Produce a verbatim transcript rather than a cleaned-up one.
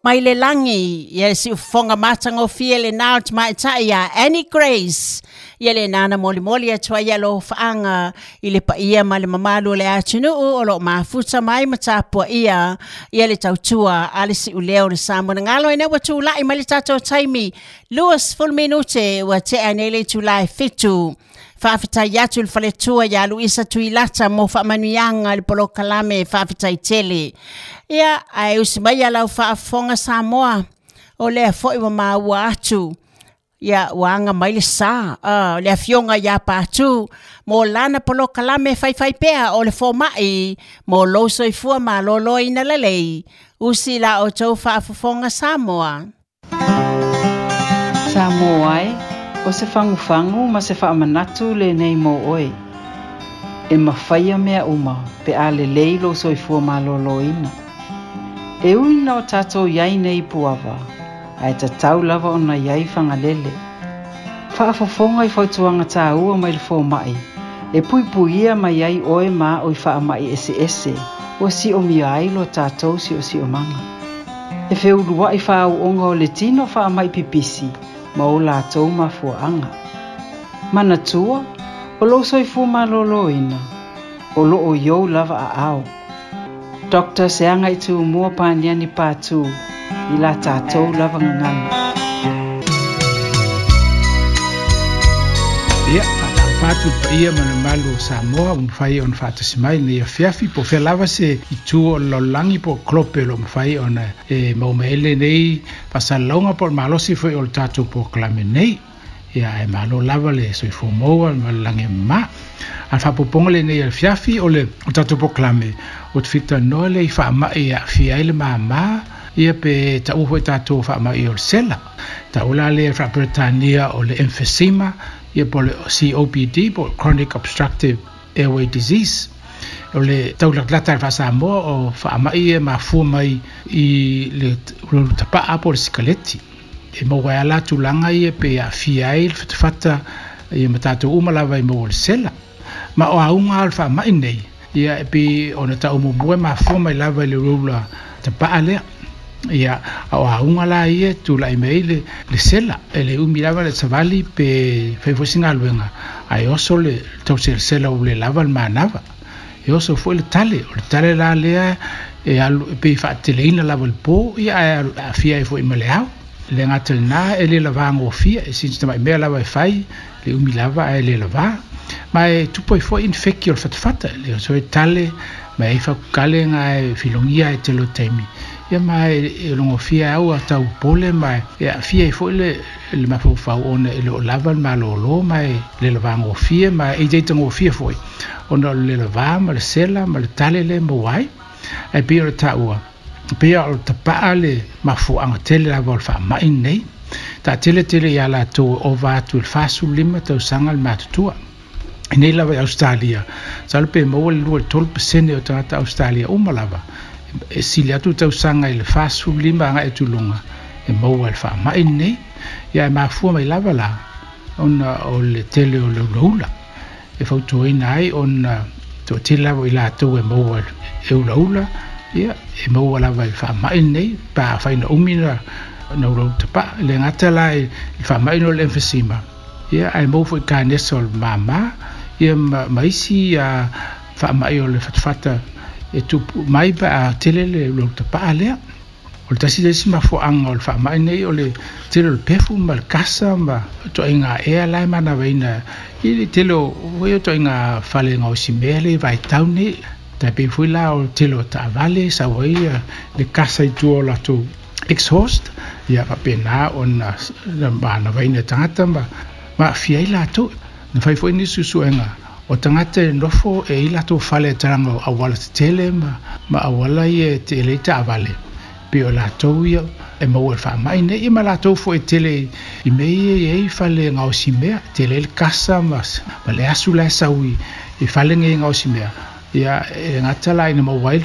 Mai le lagi, ia siufofoga matagofie lenā o le tamaitai ia Annie Grace. Ia lenā na molimoli atu ai alofaaga i le paia ma le mamalu o le atunuu o loo mafuta mai ma tapuaia ia le tautua a le siuleo o le Samoa. Ina ua tula'i mai le tatou taimi luasefulu minute ua tea nei le itulā e fitu. Faafetai atu i le faletua iā Luisa Tuilata mo faamanuiaga i le polokalame, faafetai tele. Ia ae usi mai ia lau faafofoga Samoa, o lea fo'i ua maua atu ia ua aga mai le sā uh, le afioga iā Patu mo lana polokalame faifai pea o le foma'i mo lou soifua malōlōina lelei. Usi la outou faafofoga Samoa. Samoa e, o se fagufagu ma se faamanatu lenei mo oe. E mafaia mea uma pe a lelei lou soifua malōlōina. E ui ina o tatou iai nei i Puava, ae tatau lava ona iai Fagalele. Faafofoga i fautuaga tāua mai le fomaʻi, e puipuia mai ai oe ma o i faamaʻi eseese ua siomia ai lo tatou siosiomaga. E feuluaʻi faaauoga o le tino faamaʻi pipisi ma o latou mafuaaga. Manatua, o lou soifua malōlōina, o loo i ou lava aao. Doctor Seaga i Tumua Paniani Patu, i la tatou lava gagana. Ia, faatalofa atu i le paia ma le mamalu o Samoa ua mafai ona faatasi mai i lenei afiafi, po o fea lava se itu o le lalolagi po o kolope o lo o mafai ona e maua mai ai lenei faasalalauga po o le malosi foi o le tatou polokalame nei. Ia, ae malo lava le soifua maua ma le lagi e mama. A o le faaopoopoga lenei o le afiafi o le tatou polokalame, ua tafitalanoa lea i faamai e aafia ai le māmā, ia pe taua foi tatou faamai o le sela. Taua la lea i le faaperetania o le emphysema, ia po o le C O P D po o Chronic Obstructive Airway Disease. O le taulatalata i le faasamoa o faamai e mafua mai i le ulaula tapaa po o le sikaleti. E maua ai la tulaga ia pe aafia ai le fatafata ia ma tatou uma lava i maua o le sela. Ma o auga o le faamai nei, ia e pei ona tau muamua e mafua mai lava i le ulaula tapaa lea. Ia, a o auga la ia tulai mai le, le sela, e le umi lava le savali pe fai foi se galuega, ae oso le tauselesela ua le lava le manava. E oso foi le tale, o le tale la lea e alu e pei faateleina lava le po, ia ae aafia ai foi ma le ao. Le gata lenā e le lavā gofia, e sina tamai mea lava e fai, le umi lava ae le lavā. Ma e tupu ai foi infeki o le fatafata, le oso e tale, ma e fakukalega e filogia e tele o taimi. Ia ma e logofia au a tau pole ma e aafia ai foi le, le mafaufau ona e le o lava le malōlō ma e le lavā gofia ma e itaitagofia foi ona o le lavā ma le sela ma le tale le maua ai. Ae pei o le taua, pei o le tapaa le mafuaaga tele lava o le faamai lenei. Taateletele iā latou e ova atu i le fasefululima tausaga le matutua. I nei lava i Australia, masalo pe maua le lua i le tolu pasene o tagata Australia uma lava e sili atu tausaga i le fasefululima agai atu i luga e maua i le faamai lenei. Ia e mafua mai lava la ona o le tele o le ulaula e fautuaina ai ona toatele lava i latou e maua e ulaula, ia e maua lava i le faamai lenei pa afai na umi na na ulaula tapaa. Le gata la i le faamai o le emphysema, ia ae maua foi kanesa o le māmā, ia ma, ma isi a faamai o le fatafata e tupu mai pa a tele le ulaula tapaa lea. O le tasi le isi mafuaaga o le faamai nei o le tele o le pefu ma le kasa ma toaiga ea la e manavaina i le tele o foi o toaiga fale gaosimea le vaitau nei. Tai pei foi la o le tele o taavale sau ai le kasa i tua o latou exhaust, ia faapena ona manavaina e tagata ma ma aafia ai latou. Na fai foi nisi suesuega o tagata e nofo e i latou fale e talaga o auala tetele ma, ma auala ia e tele ai taavale, pe o latou ia e maua i le faamai nei, ia ma latou foi e tele i mea ia e i ai fale gaosimea, tele ai le kasa ma, ma le asu la e sau i, i fale nei gaosimea. Ia e gata la ina maua ai le